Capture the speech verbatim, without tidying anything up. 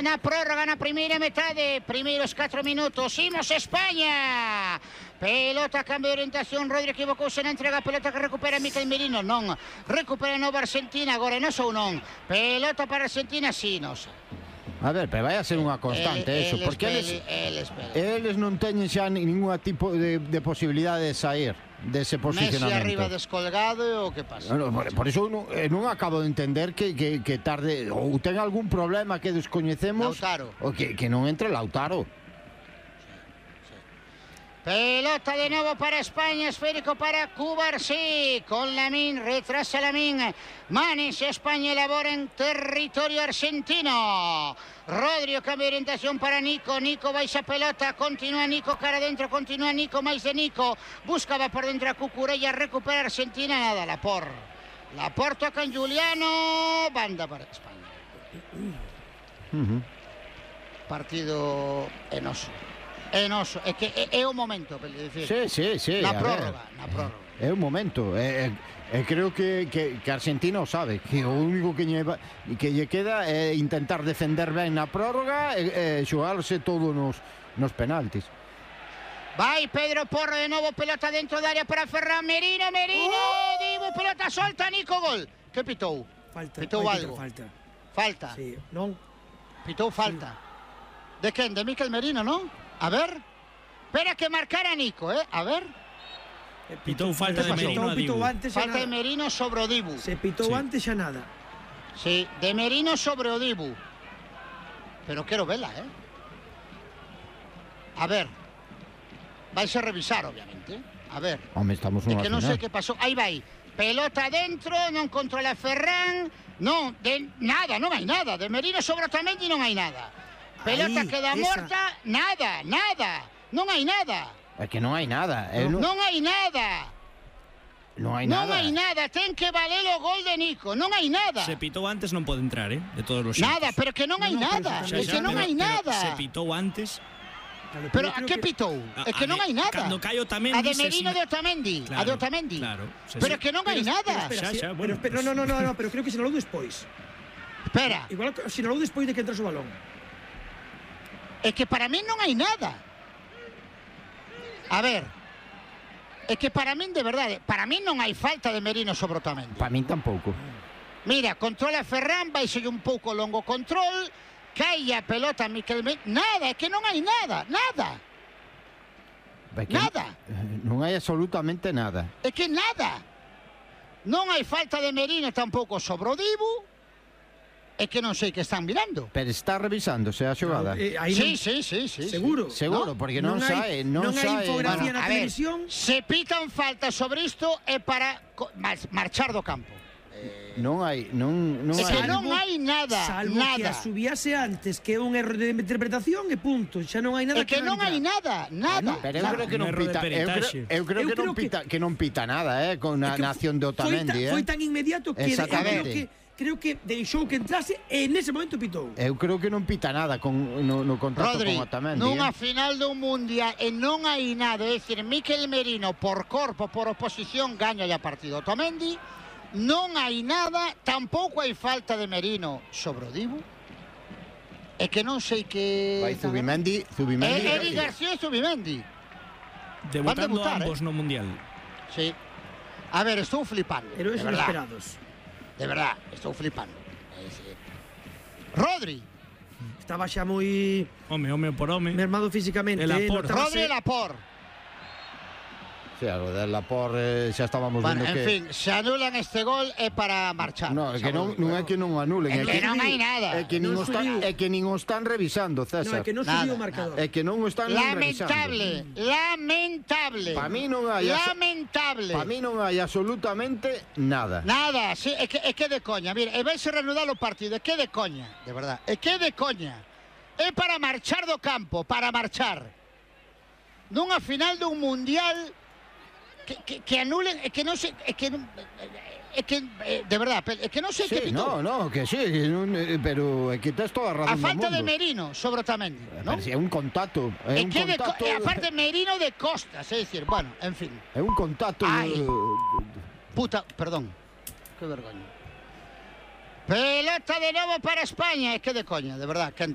na prórroga na primeira metade, primeiros catro minutos. Imos España. Pelota, cambio de orientación. Rodri equivocouse na entrega. Pelota que recupera Mikel Merino. Non. Recupera nova Argentina. Agora non ou non. Pelota para Argentina, si, non sei. A ver, pero vai a ser unha constante el, eso, el porque espeli, eles, el eles non teñen xa ningún tipo de, de posibilidade de sair dese posicionamento. Messi arriba descolgado, o que pasa? No, por, por iso non, non acabo de entender que, que, que tarde, ou ten algún problema que descoñecemos, Lautaro. ou que, que non entre Lautaro. Pelota de nuevo para España, esférico para Cubarsí, con Lamín, retrasa Lamín, Manes, España elabora en territorio argentino. Rodri, cambio de orientación para Nico, Nico va esa pelota, continúa Nico, cara adentro, continúa Nico, más de Nico, buscaba por dentro a Cucurella, recupera Argentina, nada, Laporte. Laporte toca en Juliano, banda para España. Uh-huh. Partido enoso. Enoso, é que é, é o momento per dicir. Sí, sí, sí. Na prórroga, na prórroga. É o momento. E, e, e creo que, que, que Argentina o sabe, que o único que lle, que lle queda é intentar defender ben na prórroga e, e xogarse todo nos, nos penaltis. Vai Pedro Porro de novo, pelota dentro da área para Ferran Merino, Merino, oh! Dibu, pelota solta, Nico, gol. Que pitou? Falta. Pitou algo. Falta. Falta. Sí, non. Pitou falta. Sí. De quen? De Mikel Merino, non? A ver. Espera que marcara Nico, eh? A ver. Pitou falta de Merino a Dibu. Falta de Merino sobre o Dibu. Se pitou sí. Antes xa nada. Sí, de Merino sobre o Dibu. Pero quero vela, eh? A ver. Vais a revisar, obviamente. A ver. Home, estamos é unha que non final. sei que pasou. Aí vai. Pelota dentro, non controla Ferran. Non, de nada, non hai nada. De Merino sobre Otamendi non hai nada. Pelota Ahí, queda esa. morta, nada, nada, non hai nada. É que non hai nada. Non, non hai nada. Non hai non nada. hai nada, ten que valer o gol de Nico, non hai nada. Se pitou antes non pode entrar, eh, de todos os xeitos. Nada, pero que non hai No, no, nada, pero é que non pero, hai pero nada. Se pitou antes. Claro, Pero yo a creo que que- pitou? A- É que a non de- hai nada. cando cae Otamendi, A de se Merino sina- de Otamendi, a de Claro, Otamendi. claro, se Pero sina- que non hai Pero- nada. pero espera, Xa, sí, xa, pero bueno, espera, pues- no, no, no, no, pero creo que sinalou despois. Espera, Igual que sinalou despois de que entrase o balón. é que para min non hai nada. A ver, é que para min de verdade, para min non hai falta de Merino sobre Otamendi. Para min tampouco. Mira, controla Ferran, vai ser un pouco longo control, cae a pelota a Mikel Merino, nada, é que non hai nada, nada, É que nada, Non hai absolutamente nada. é que nada. Non hai falta de Merino tampouco sobre o Dibu, é que non sei que están mirando. Pero está revisándose a xogada. Eh, aí Sí, non- sí, sí, sí. Seguro. Seguro, ¿no? porque non, Non hai- sae, non, non hai sae. infografía Bueno, na a ver, televisión. se pitan falta sobre isto é para co- mar- marchar do campo. Non hai, non, non É que hai. non hai nada, Salvo que nada. a subiase antes, que é un erro de interpretación e punto. Xa non hai nada É que non hai nada, nada. Pero eu nada. creo que non Un erro de pita, eu creo, peritaxe. eu creo Eu que non creo que- pita, que non pita nada, eh, con a É que nación de foi Otamendi, tan, eh. foi tan inmediato que eu creo Exactamente. que creo que deixou que entrase e nese momento pitou. Eu creo que non pita nada con no, no contacto Rodri, con Otamendi, nunha eh. final dun mundial e non hai nada, é dicir, Mikel Merino por corpo, por oposición gaña a partido. Otamendi non hai nada, tampouco hai falta de Merino sobre o Dibu. É que non sei que Vai Zubimendi, Zubimendi. É Eric García e Zubimendi. Debutando debutar, ambos eh. no Mundial. Sí. A ver, estou flipando. Héroes de verdad. inesperados. De verdad, estou flipando. É dicir, Rodri, Estaba xa moi Home, home por home. mermado físicamente. El eh, Laporte. notábase- Rodri e Laporte. Sí, algo de Laporte eh, xa estábamos Bueno, vendo en que fin, se anulan este gol é para marchar. No, é que non, Xa non vos é que non anulen, É que non hai nada. É que nin Non o están, subiu. é que nin o están revisando, No, César. é que non Nada, subiu o marcador. É que non o están nin Lamentable, revisando. lamentable. Pa mí non hai as- Lamentable. Para mí non hai absolutamente nada. Nada, sí, é que, é que de coña. Mira, e vais a reanudar o partido. É que de coña, de verdad. É que de coña. É para marchar do campo, para marchar. Nunha final dun mundial que, que, que anulen, é que non sei, é que non, é que eh, de verdad, é que non sei que Sí, pitou. no, no, que sí, que non, eh, pero é que tes toda a A razón do falta de mundo. Merino sobre Otamendi, ¿no? Pero si é un contacto, é É un que de, co- contacto. e aparte Merino de costas, é dicir, bueno, en fin. É un contacto. Ai. eh, Puta, perdón. Que vergoña. Pelota de novo para España, é que de coña, de verdad, Kento.